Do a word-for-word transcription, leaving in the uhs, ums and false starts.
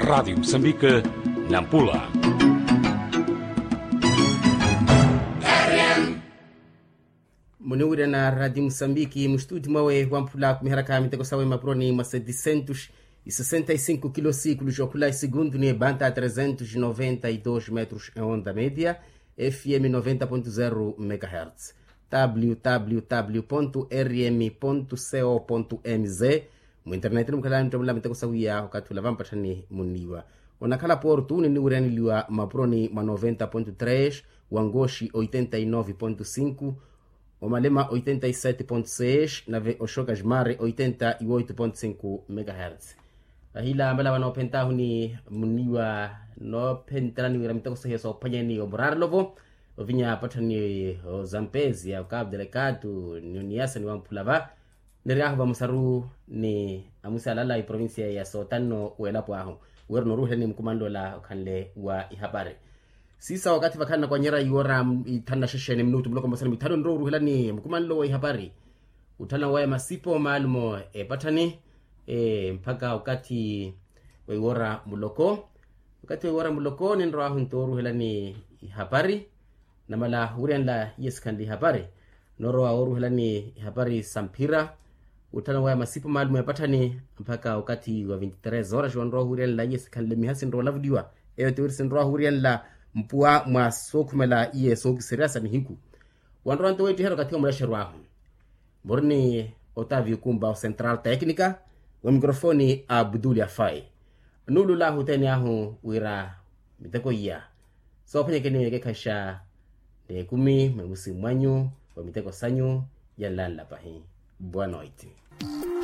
Radiyo musambike, nampula. Muniwirana radiyo musambiki mustuti mwawe wamphula kumiharaka miteko sawe mapuroni mwa setisentus isesenta isinko kilo sikulu jokhula isigundu ni ebanta tresentus noventa idos metros eonda media, fm noventa pontu zero megahertz, www rm co mz. Mwinterneti ni mukhalani muttamula miteko sawiya okathi ula vampatthani munniwa. Onakhala portu niniwiryaneliwa mapuroni mwa noventa pontu tres, wangoxi oitenta inove pontu sinku, omalema oitenta isete pontu seis nave oxoka jmare oitenta ioito pontu sinku megahertz. Vahila amala vanoophenttahu ni munniwa noophenttana ni wira miteko sahiya soophwanyeni omurarelo vo ovinya apatthani ozampezia okapu delegatu ni oniyasa ni wamphula va. Niryahu vamusaru ni amusalala iprovincia ya sotanno welapo ahu. Wira noruhelani mukumanlola okhanle wa ihapari. Siisa wakathi vakhanna kwanyera iwora ithanu na xexeni minutu muloko mosani mithanu nrowa oruhelani mukumanlo wa ihapari. Utthana waya masipo maalumo epatthani mpakha wakathi wa iwora muloko. Wakathi wa iwora muloko ninrowahu nto oruhelani ihapari. Namala wuryanla iye sikhanle ihapari. Norowa oruhelani ihapari sa mphira. Utthana waya masipo maalumo epatthani mpakha wakathi wa vinti tres horas wanrowa wuryanla iye sikhanle miha sinrowa olavuliwa. Eyo tiwiri sinrowa wuryanla mpuwa mwa sookhumela iye sookiserya sa nihiku. Wanrowa nto weettiherya okathi wa mulaxeryo ahu. Muri ni otavio kumba o central tecnica. Wa mikrofoni a abduli afai. Nuululahu othene ahu wira miteko iya soophwanyekeni weekekhaxa n'ekumi mwemusi mwanyu wa miteko sanyu. Yanlanla pahi. Boa noite.